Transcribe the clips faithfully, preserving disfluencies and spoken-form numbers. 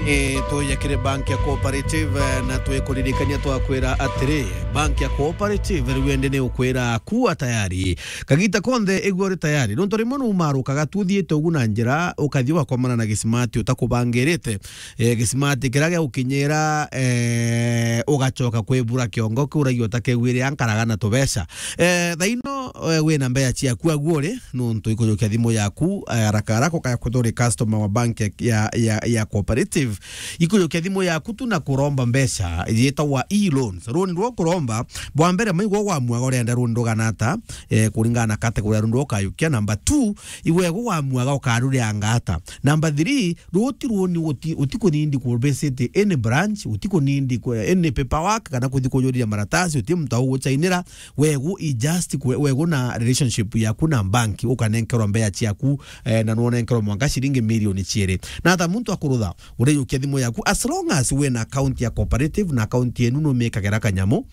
E, tuye kiri bank ya Cooperative, eh, na twikuririkania twakwira atiri, bank ya Cooperative riu indi ni ukwira kuwa tayari. Kagita konthe igua uri tayari. Nontu rimwe numarukaga tu uthiite ugu na njira, ukathi ugakomana na gisimati utakubangirite. Eh, gisimati kiria giagukinyira, eh, ugacoka kwibura kiongo kiuragia utakegwire ankaraga na tubeca. Eh, thaino, eh, wina mbeca ciaku agu uri, nontu ikujukia thimu yaku, eh, haraka haraka ukaya kuthuri customer wa bank ya, ya, ya, ya Cooperative. Ikujukia thimu yaku tu na kuromba mbeca, yitagwa e-loans. Runi rwa kuromba, bwa mbere maigwa gwamwaga urenda runi rugana ata, eh, kuringana na category ya runi rwa ukayukia. Number two, igwegwa gwamwaga ukarurianga ata. Number three, ruti runi uti, utikunindi ku visit any branch, utikunindi ku, any paperwork, kana kuthi kujuriria maratasi, uti muntu auguchainira, wegu i just kwe-, wegu na relationship yaku na bank, ukanenkerwa mbeca ciaku, eh, na nonenkerwa mwanka ciringi milioni ciiri. Na ata muntu akurutha, ureyukia thimu yaku, as long as wina account ya Cooperative na account yenu numikagira kanyamu,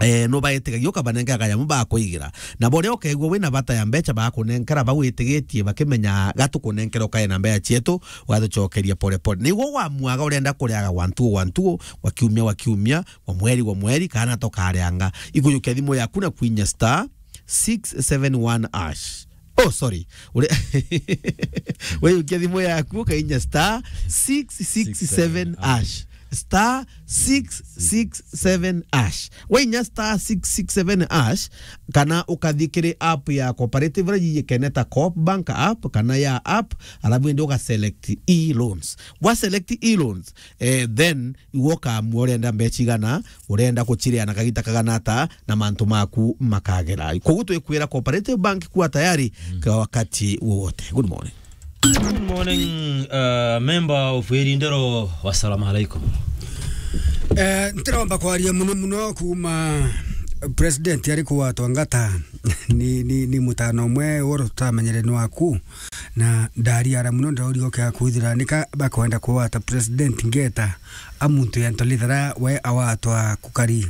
eh, nubaitigagia ukabanengera kanyamu bakuigira. Na boria ukegua wina bata ya mbeca bakunenkera, bagwitigitie bakimenya gatukunenkera ukae na mbeca cietu, ugatucokeria pole pole. Niguo gwamwaga urenda kuriaga gwa ntugu gwa ntugu, gwa kiumia gwa kiumia, gwa mweri gwa mweri, kana tukarianga. Ikujukia thimu yaku na kwinya star six seven one hash. Oh, sorry. Ure-, weyukia thimu yaku, ukainya star six six seven hash. Star six six seven hash. Wainya star six six seven hash, kana ukathi kiri app ya Cooperative iria yiyikene ta Coop Bank app, kana ya app, alafu indi uga select e-loans. Wa select e-loans, eh, then iwe ukaamua urenda mbeca igana, urenda guciria na kagita kagana ata, na mantu maku makagera. Koguo twikwira Cooperative Bank kuwa tayari kwa wakati wowote. Good morning. Good morning, uh, member of Irindero. Wassalamu alaikum. Eh, ntiromba kwaria muno muno kuma president ari kuwatwa ngata. Ni, ni, ni mutano umwe woro tutamenyere ni waku. Na ndariara muno, ndauriga ukiaga kwithira nika bakwenda kuwata president ngeta a muntu ya Ntolithara we awatwa kukari.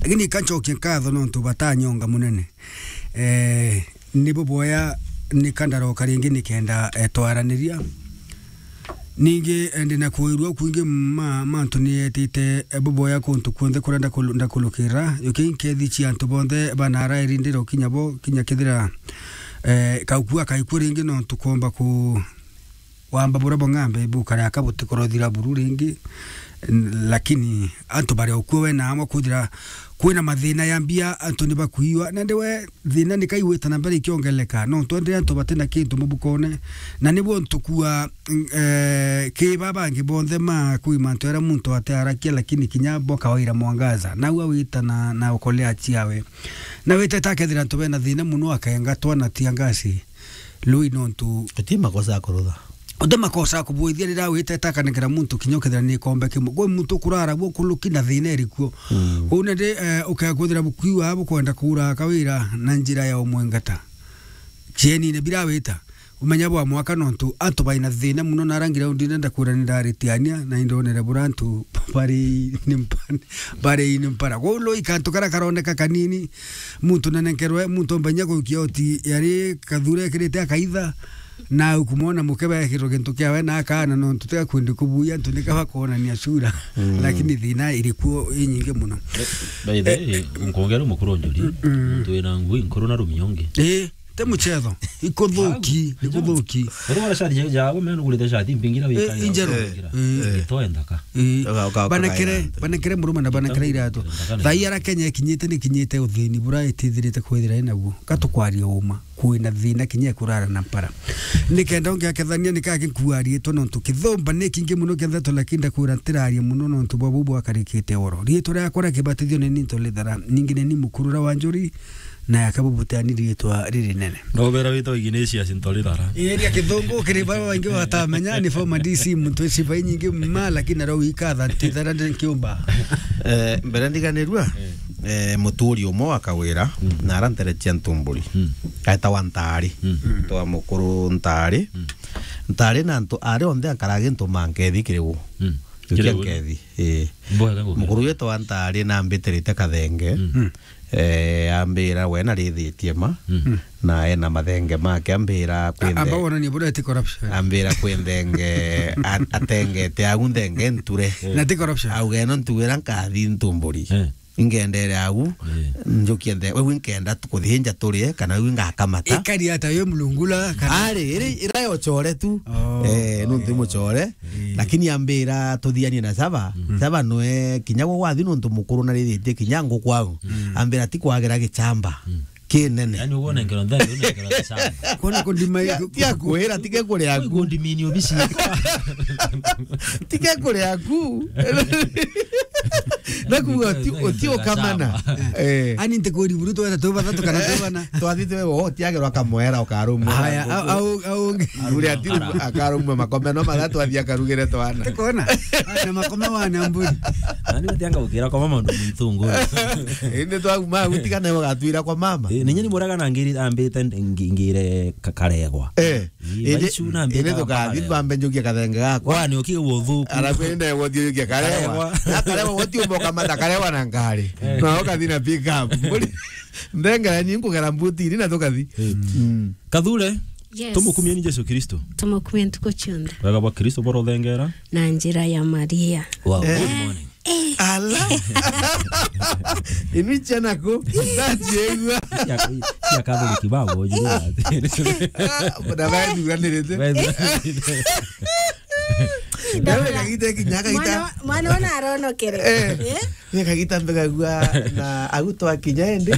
Lakini ikancokia nkatho nontu batanyonga munene. Eh, ni buboya nika ndaroka ringi nikenda, eh, twaraniria. Ningi, eh, ndina kuirua kwingi ma, mantu ni etite, eh, buboya kuntu kuonthe kuria ndakulu-, ndakulukira. Yuki nkethi cia antu bonthe banara Irindero kinya bo, kinya kethira, eh, kaukua kaikua ringi nontu kuomba ku, wamba buria bong'ambe bukare aka butikorothira buru ringi. N-, lakini antu bari okuo we na amwe kwithira kwina mathina ya mbia, antu ni bakuiwa. Nandi we thina ni kaigwita na mbere ikiongeleka. No twendere antu batina kintu mubukone. Na nibo ntukua, eh, ki ba bangi bonthe ma kui mantu era muntu ate arakia, lakini kinya bo kawaira mwangaza. Nau awita na, na okolea ciawe. Na witete akethira antu bena thina muno akengatwa na tia ngasi. Lui nontu uti makosa ya kurutha. Uti makosa ya kubuithia riria witete akanengera muntu kinya ukethira ni kombe kimwe. Kwi muntu kurara guo kuluki na thina iri kuo. Mm. Kuu nandi, eh, ukekwithira bukuiwa bukwenda kuura kawira na njira ya umwengata. Cienine bira wita. Umenya bwa mwaka nontu antu baina thina muno na rangi raundi nenda kuura ni ndaritiania na indonere bura antu bari ni mpa-, bari ni mpara. Kuu lui kantu kara karoneka kanini. Muntu nanenkerwe, muntu ombenya gukia oti yari kathure ekirite akaitha, na ukumwona mukebe ekirwo gintu kiawe na akana nontu tia kwendi kubuya antu nika bakwonania sura. Mm. Lakini thina iri kuo inyingi muno. By the way, nkongera mukuru njuri, mm, muntu wina ngui nkuru na rumiongi. Eh, te muchetho. Ikuthuki, ikuthuki. Uri wala shati ja, ja, we meno gulite shati mbingira. Eh, wika injeru. Mbingira. Eh. Itoe nthaka. Eh. Uga-, uga-, banekere, uga-, banekere muruma na banekere iratu. Thai ara Kenya ikinyite ni kinyite uthini bura itithirite kwithira inaguo. Katukwaria uma. Kwina thina kinya kurara na mpara. Nikenda ungiakethania nikaki nkuarie to nontu kithomba ni kingi muno kienda to, lakini ndakwira ntirarie muno nontu bwa bubu akarikite oro. Rietwa riakwa ria kibatithio ni Ninto Lithara. Ningi ni ni mukuru ra wa njuri. Na yake bubuteani riitwa ririnene. Ndobera witwa Ignatius Ntorithara. Ii, ria kithungu kiri baba baingi batamenya, ni former D C, muntu wi cibai nyingi ma, lakini naro wikatha ntithara ndi nkiumba. Eh, mbere ndiganirua, eh, muturi umwe wa Kawira, mm, na ara ntere cia Ntumburi. Mm. Aetawa Ntari. Mm. Twa mukuru Ntari. Mm. Ntari na antu ari onthe ankara gintu mankethi kiri u. Mm. Njukia nkethi, ii. Mboya gagukira. Mukuru wetu antaari na ambitiritie kathenge. Mm. Mm. Eh, ambira we na rithitie ma. Mm. Na ena mathenge make, ambira kwi nthe-, amba wonanie buria ti corruption. Ambira kwi nthenge, a-, atengete au nthenge nture. Na ti corruption. Auga ino ntuira nkathi ntumburi. Eh. Ingendere au, eh, njukie nthe-, we nkenda tukuthinja turie, kana we ngakamata. Ikari ata yo mlungula, kana ari, iri, ira yo chore tu. Oh. Eh, nuntu muchore. Eh. Lakini ambira tuthianie na Saba. Mm. Saba nwe kinya gwe gwathi nuntu mukuru na rithitie kinya nguku au. Mm. Ambira ti kwagira gichamba. Mm. Kinene. Yaani, uguo nengero nthari, unengero nthari. Kwona kundima. Tia, tia kwira, tige kuria aku. Kundimini obisi. Tige kuria aku. Na kuuga uti, uti ukamana. Eh. Ani ntikuri buru twetha tu bathatu kana tu bana. Twathi twe wo, tiagerwa kamwera ukarumwa. Haya, au, au, au. Uria ati akarumwa makome no mathatu athi akarugire twana. Tikona. Na makome wa na mburi. Ani utianga ukira kwa mama ndo mwitungu. Indi twauma, utigane ugatwira kwa mama. Eh, ninye ni muraga na ngiri ambite ngi-, ngire ka-, karegwa. Eh. Ii, indi, baicu na mbita indi tukathi mpaka bambe njukie kathenge gakwa. Kwani ukiigua uthuku? Arabu indi ndeegwa uthiurukia karewa. Karewa. Na karewa gutiumba ukamata karewa na ngari. Eh. No ukathi na pick up. Mburi, nthengera ni nkugera mbuti iri na tukathi. Eh. Mm. Kathure, yes, tumukumie ni Jesu Kristo. Tumukumie ntuku cionthe. Wega bwa Kristo borothengera. Na njira ya Maria. Wow, eh, good morning. Ala. Inu ichana ku, ndatiegua. Cia, cia Catholic babo, juu. Na baethuranirite. Baethuranirite. Nawe kagita kinya kagita. Mwana, mwana ona aronokere. Eh. Eh? Ni kagita mbegagua na au twakinya indi.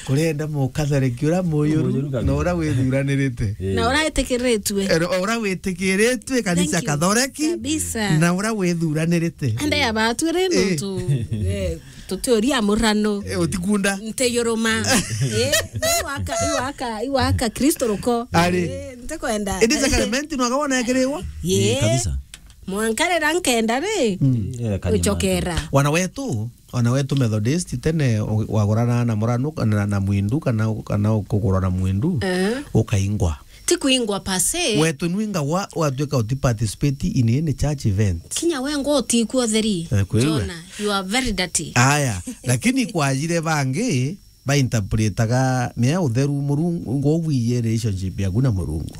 Kurenda mu Catholic ura muyuru, muyuru kabisa, na ura withuranirite. Eh. Na ura witikiritue. Eh, ura witikiritue kanisa, thank you, Catholic. Kabisa. Na ura withuranirite. Ande ya batwire, eh, nuntu, eh, tutiuria murano. Eh, utikunda. Nteyuruma. Eh, iwaka, iwaka, iwaka Kristo ruko. Ari. Eh, ntikwenda. Indi sacrament no akawona ekiriwa? Ye. Eh, kabisa. Mwanka rira nkenda ri, mm, eh, kanyama, ucokera. Wana wetu, wana wetu Methodist tene u-, wagurana na murano kana na mwindu kana, kana kugurwa na mwindu, eh, ukaingwa. Ti kuingwa per se. Wetu nwinga wa, watwika uti participate in any church event. Kinya we ngo utikua utheri. Eh, kwi we. Jona, you are very dirty. Aya, lakini kwajire bangi, bainterpretaga mea utheru Murungu, ngo wiye relationship yaku na Murungu.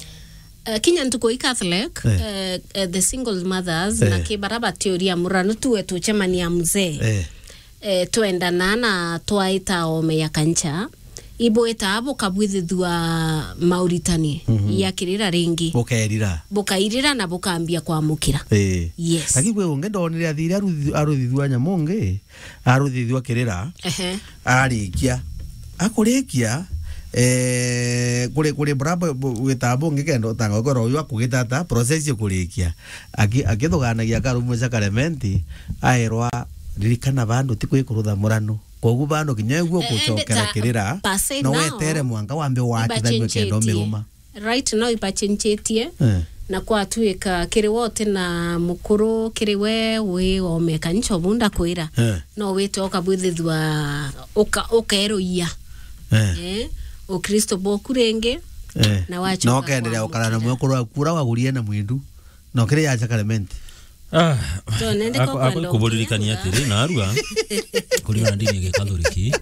Eh, kinya ntuku i Catholic, eh, eh, eh, the single mothers, eh, na ki bara batiuria murano tuwe tucemania mzee. Eh. Eh, twendana na twaita ome ya kancha, ibwita bukabwithithua mauritani, mhm, ya kirira ringi. Bukerira. Bukairira na bukambia kwamukira. Eh. Yes. Lakini kwi ungi ndonire athire aruthi-, aruthithua nyamu ungi, aruthithua kirira, ehe, arikia. Akurikia, eh, kuri, kuri bura bu-, bu-, wita bungi kenda utanga gukorwa uyu akugita ata, process ikurikia. Aki-, akithuganagia akarumwe sacrament, aerwa, "Ririkana bandu ti kwikurutha murano." Koguo bandu kinya uguo, eh, gucokera kirira, per se no now, wetere mwanka wambe watithanue kenda umiruma. Right now ibachenjetie, eh, na kwatuika kiri we uti na mukuru, kiri we wi ome kanisa ubu ndakwira. Eh. No wite ukabwithithua uka-, ukeruia. Eh. Eh, Ukristo bwoku ringi, eh, na wachoka na ukenderea ukara na kwamukira mwekuru waku ura wagurie na mwindu. No kiri ya sacrament. Ah, twonende ako-, ako-, kuburirikania atiri, narua, kuringana na ndini ya Gikatholiki,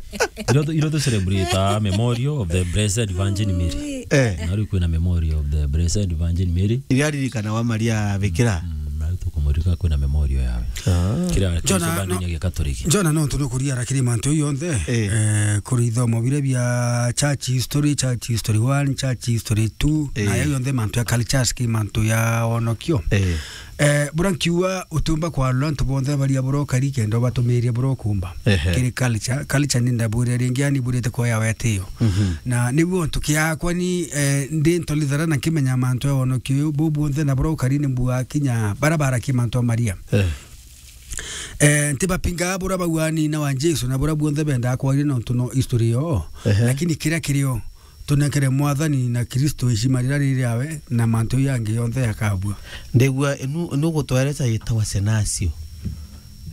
iro tu, iro tu celebrate memorial of the Blessed Virgin Mary. Eh. Narua kwina memorial of the Blessed Virgin Mary. Iria ririkana wa Maria Bikira. Mm, narua tukumuririka kwina memorial yawe. Ah. Kira Jona, kira no, ndini ya Gikatholiki. Jona, no tunukuria arakiri mantu yonthe. Eh. Eh, kuri ithomo biria bia church history, church history one, church history two, eh, na ya yonthe mantu ya cultures ki mantu ya onokio. Eh. Eh, bura nkiuga utiumba kwarura antu bonthe baria bura ukari kenda ubatumirie bura ukumba. Ehe. Kiri culture, culture ni ndabwire ringi, yani burite kuoya wetio. Mhm. Na niguo ntuki yakwa ni, eh, ndi ntolithara na nkimenya mantu ya wonokio uyu, bu buonthe na bura ukari ni mbua kinya bara barakie mantu a Maria. Eh. Eh, ntibapingaga bura bauga ni na wa Jesu na bura buonthe bendaga kwaria nontu no history yo. Ehe. Lakini kiria kirio, tunenkere Mwathani na Kristo heshima rira riri awe, na mantu yangi yonthe yakabua. Ndigua inu, inu gutweresa yitawa Senasio.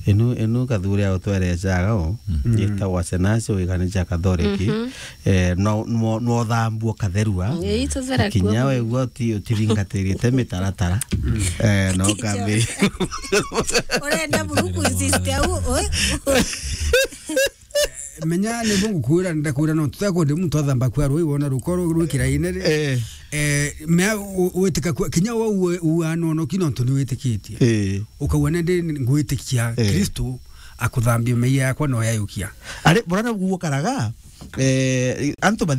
Inu, inu Kathuri autwerecaga u, Mm. yitagwa Senasi, uigani cia Kathoreki. Mhm. Eh, no, no, no thambua katherua. Ii, tuthera Kinya kuo. Wegua uti-, utiringatirite mitaratara. Mm. Eh, no Kinya. Kambi. Urenda buru kuinsist au, ui? Menya ni bo ngukwira, ndakwira no tutekwendi muntu athamba kwa rui, wona ruko rwikira ine ri. Eh. Eh, mea u-, witika kwa, kinya wa uwe, uwa nono ki nontu ni witikitie. Eh. Ukauga nende ngwitikia Eh. Kristo akuthambia meia yakwa no yayukia. Ari, burana guokaraga, eh, antu